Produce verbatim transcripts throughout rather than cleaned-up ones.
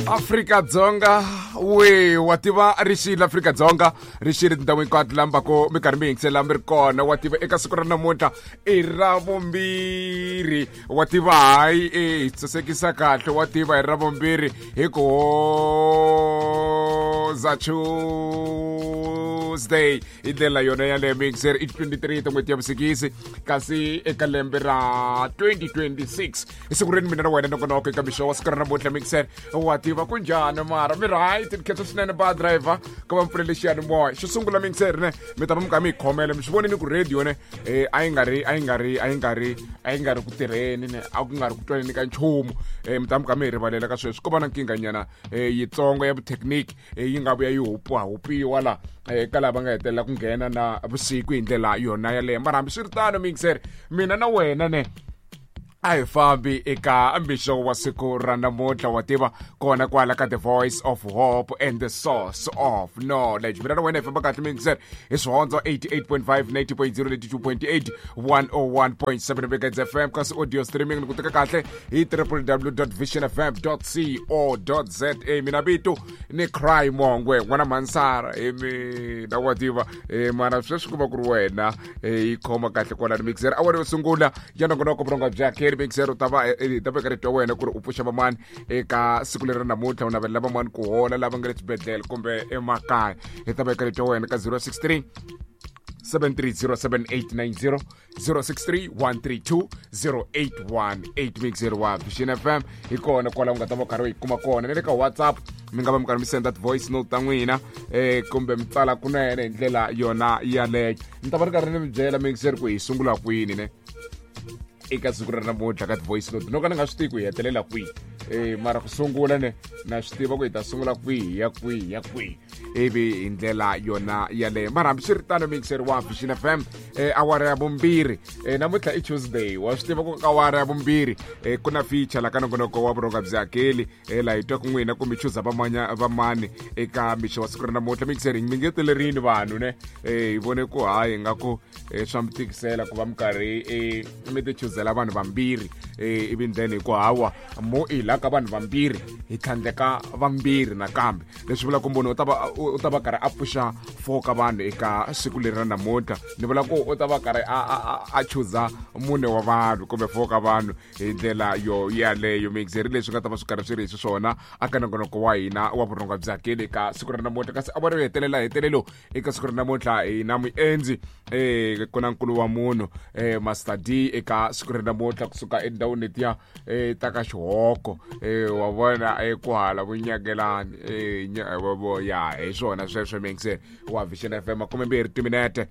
Afrika Dzonga we wa tiva rixile Afrika Dzonga rixile tindhawu hinkwato lambako mi karhi mi yingisela mi ri kona wa tiva eka siku ra namuntlha i ra vumbirhi wa tiva hayi e hi sasekisa kahle wa tiva hi ra vumbirhi hi ku hoza Tuesday hi ndlela yona yaleyo mixer i twenty-three ta n'hweti ya vusikisi kasi eka lembe ra twenty twenty-six hi siku reni mina na wena nongonoko eka mixo wa siku ra namuntlha mixer wa tiva kunjhani mara mi right ni khensa swinene ba driver ku va mi pfulele xiyanimoya xo sungula mixer ne mi ta va mi kha mi yi khomela mi swi vonini ku radio ne eh, a yi nga ri a yi nga ri a yi nga ri a yi nga ri ku tirheni ne a ku nga ri ku twaneni ka nchumu eh, mi ta mi kha mi yi rivalela ka sweswi ko va na nkingha nyana eh, yitsongo ya vuthekiniki eh, yi nga vuya yi hupiwa hupiwa la eh, ka lava nga hetelela ku nghena na vusiku hi ndlela yona yaleyo mara hambiswiritano mixer mina na wena ne a hi fambi eka mixo wa siku ra namuntlha wa tiva kona kwala ka the voice of hope and the source of knowledge mina na wena hi famba kahle mixer hi swihondzo eighty-eight point five, ninety point zero, eighty-two point eight, one oh one point seven Megahertz F M kasi audio streaming ni ku teka kahle hi w w w dot vision f m dot co dot z a mina vito ni Cry Mongwe n'wana Mansara hi mina wa tiva eh, mara sweswi ku va ku ri wena eh, yi khoma kahle kwalani mixer awara yo sungula ya nongonoko vurhonga bya Kerry mixer u ta va ta veka rito wena ku ri u pfuxa vamani eka siku leri namuntlha u navelela vamani ku hola lava nga le swibedhlele kumbe emakaya hi ta veka rito wena ka zero six three seven three zero seven eight nine zero zero six three one three two zero eight one eight mixer wa Vision F M hi kona kwala u nga ta va karhi u yi kuma kona ni le ka WhatsApp mi nga va mi karhi mi senda voice note ta n'wina eh kumbe mi tsala kunene hi ndlela yona yaleyo ni ta va ri karhi ni mi byela mixer ku hi sungula kwini ne eka siku ra namuntlha ka ti-voice note no ka ni nga swi tivi ku hi hetelela kwihi eh mara ku sungula ne na swi tiva ku hi ta sungula kwihi ya kwihi ya kwihi ivi hi ndlela yona yaleyo mara hambiswiritano mixer wa Vision F M eh, awara ya vumbirhi eh, namuntlha i Tuesday wa swi tiva ku ka awara ya vumbirhi eh, ku na feature la ka nongonoko wa vurhonga bya hakeli eh, laha hi twaka n'wina kumbe chuza vamanya vamani eka mixo wa siku ra namuntlha mixer mi ngetelerini vanhu ne eh, hi vone ku hayi nga ku eh, swa mi tikisela ku va mi karhi eh, mi ti chuzela vanhu vambirhi eh, ivi then hi ku hawa mo i la ka vanhu vambirhi hi tlhandleka vambirhi nakambe leswi vulaka ku munhu u ta va u ta va karhi a pfuxa four ka vanhu eka siku leri ra namuntlha ni vula ku u ta va karhi a a a chuza mune wa vanhu kumbe four ka vanhu hi ndlela yo yaleyo mixer leswi nga ta va swi karhi swi ri hi swona aka nongonoko wa hina wa vurhonga bya hakeli eka siku ra namuntlha kasi a va ri hetelela hetelelo eka siku ra namuntlha hi na muendzi eh ku na nkulu wa munhu eh Master D eka siku ra namuntlha kusuka endhawini letiya eh ta ka xihoko eh wa vona eh ku hala vunyakelani eh ya hi swona sweswo mixer wa Vision F M makume mbirhi timinete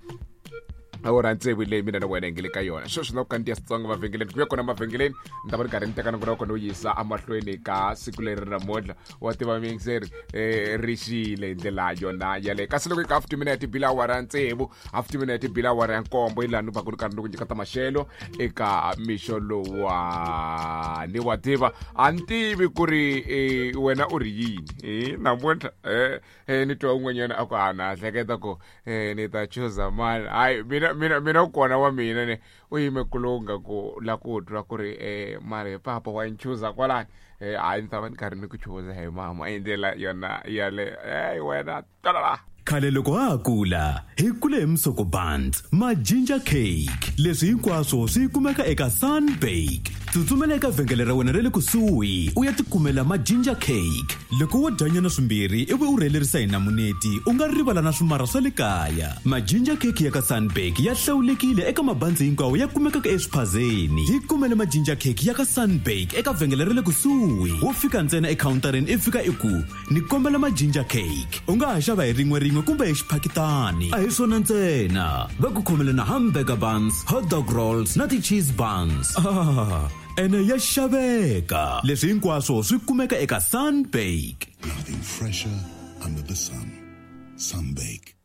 awara tsevu leyi mina na wena hi nge le ka yona sweswi na ku kandziya Xitsonga mavhengeleni ku ya kona mavhengeleni ni ta va ni karhi ni teka nongonoko no yisa emahlweni ka siku leri namuntlha wa tiva mixer eh, ri xile hi ndlela yona yaleyo kasi loko eka half timinete bila awara ya tsevu half timinete bila awara ya nkombo hi laha ni va ku ni karhi ni ku nyika ta maxelo eka mixo lowani wa tiva a ni tivi ku ri eh, wena u ri yini eh, namuntlha eh, eh, ni twa un'wanyana a ku a na hleketa ku eh, ni ta chuza mani hayi mina mina mina kona wa mina ne u yime kulunga ku la ku twa ku ri eh, mara papa wa nchuza kwalani eh, hayi ni ta va ni karhi ni ku chuza hi mama hi ndlela yona yale hey, wena talala Khale loko ha ha kula hi kule hi misoko buns ma ginger cake leswi hinkwaswo swi kumeka eka Sunbake tsutsumela eka vhengele ra wena ra le kusuhi u ya tikumela ma ginger cake loko wo dyanyana swimbirhi ivi u rhelerisa hi namuneti u nga rivala na swimara swa le kaya ma ginger cake ya ka Sunbake ya hlawulekile eka mabandzi hinkwawo ya kumekaka eswiphazeni hi kumele ma ginger cake ya ka Sunbake eka vhengele ra le kusuhi wo fika ntsena ekhawuntarini i fika i ku ni kombela ma ginger cake u nga ha xava hi rin'we rin'we kumbe hi xiphakitani a hi swona ntsena va ku khomele na hamburger buns hot dog rolls na ti-cheese buns ah, ene ya xaveka leswi hinkwaswo swi kumeka eka Sunbake. Nothing fresher under the sun. Sunbake.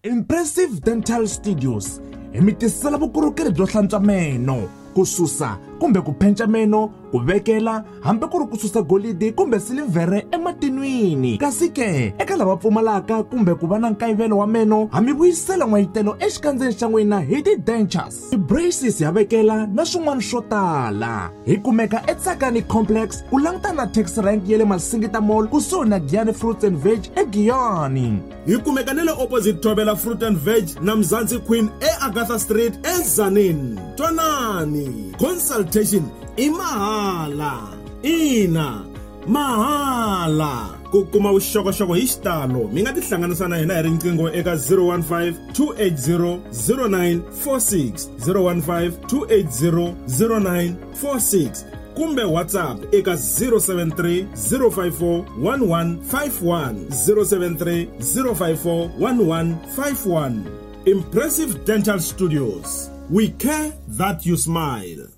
Impressive Dental Studios hi mi tisela vukorhokeri byo hlantswa meno ku susa kumbe ku penca meno, ku vekela hambi ku ri ku susa golidi kumbe silivhere ematinwini. Kasi ke eka lava pfumalaka kumbe ku va na nkayivelo wa meno, ha mi vuyisela n'wayitelo exikandzeni xa n'wina hi ti-dentures, ti-braces ya vekela na swin'wana swo tala. Hi kumeka eTsakani Complex ku langutana na taxi rank ya le Masingita Mall kusuhi na Giyani Fruits and Veg eGiyani. Hi kumeka na le opposite Thobela Fruit and Veg na Mzansi Queen eAgatha Street eTzaneen. Twanani, consultation i mahala. Ina, mahala. Ku kuma vuxokoxoko hi xitalo mi nga tihlanganisa na hina hi riqingho eka zero one five two eight zero zero nine four six, zero one five two eight zero zero nine four six kumbe WhatsApp eka zero seven three zero five four one one five one, zero seven three zero five four one one five one. Impressive Dental Studios. We care that you smile.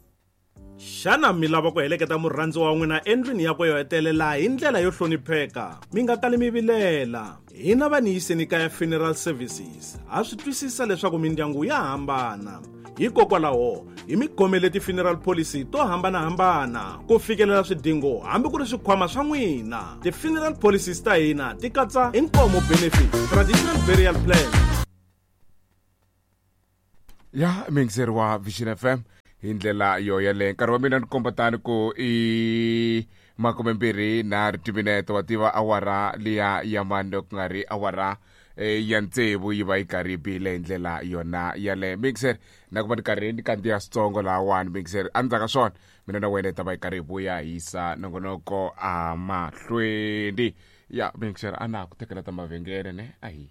Xana mi lava ku heleketa murhandzi wa n'wina endlwini yakwe yo hetelela hi ndlela yo hlonipheka? Mi nga kali mi vilela. Hina va Niyiseni Kaya Funeral Services ha swi twisisa leswaku mindyangu ya hambana. Hikokwalaho hi mi khomele ti-funeral policy to hambanahambana ku fikelela swidingo hambi ku ri swikhwama swa n'wina. Ti-funeral policies ta hina ti katsa inkomo benefit, traditional burial plan. Ya mixer wa Vision F M hi ndlela yo yaleyo. Nkarhi wa mina ni komba tani ku i makume mbirhi nharhu timinete wa tiva awara liya ya mane ku nga ri awara ya tsevu yi va yi karhi yi bile hi ndlela yona yaleyo. Mixer na ku va ni karhi ni kandziya switsongo lahawani mixer. Endzhaku ka swona mina na wena hi ta va hi karhi hi vuya hi yisa nongonoko amahlweni. Ya mixer a na ha ku tekela ta mavhengele ne a hi.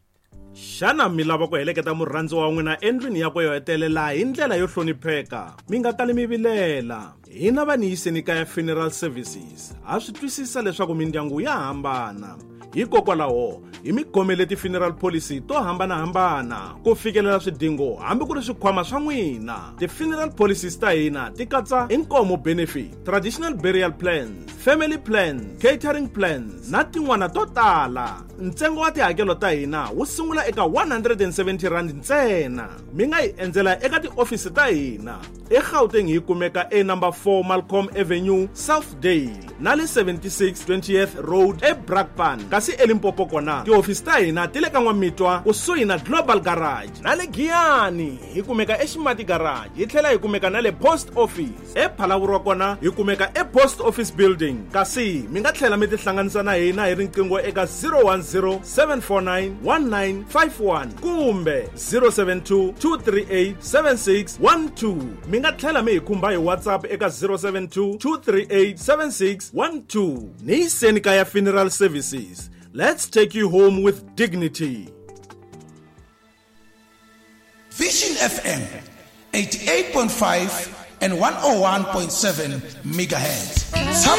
Xana mi lava ku heleketa murhandzi wa n'wina endlwini yakwe yo hetelela hi ndlela yo hlonipheka? Mi nga kali mi vilela. Hina va Niyiseni Kaya Funeral Services ha swi twisisa leswaku mindyangu ya hambana. Hikokwalaho hi mi khomele ti-funeral policy to hambanahambana ku fikelela swidingo hambi ku ri swikhwama swa n'wina. Ti-funeral policies ta hina ti katsa inkomo benefit, traditional burial plans, family plans, catering plans na tin'wana to tala. Ntsengo wa tihakelo ta hina wu sungula eka one hundred and seventy rand ntsena. Mi nga hi endzela eka tiofisi ta hina eGauteng. Hi kumeka e number four Malcolm Avenue, Southdale na le seventy-six twentieth Road eBrakpan. Kasi eLimpopo kona tiofisi ta hina ti le ka N'wamitwa kusuhi na Global Garage na le Giyani hi kumeka eXimati Garage, hi tlhela hi kumeka na le Post Office. ePhalaborwa kona hi kumeka ePost Office Building. Kasi mi nga tlhela mi tihlanganisa na hina hi riqingho eka zero one zero seven four nine one nine five one kumbe zero seven two two three eight seven six one two. Mi nga tlhela mi hi khumba hi WhatsApp eka zero seven two two three eight seven six one two. Niyiseni Kaya Funeral Services. Let's take you home with dignity. Vision F M eighty-eight point five and one oh one point seven megahertz.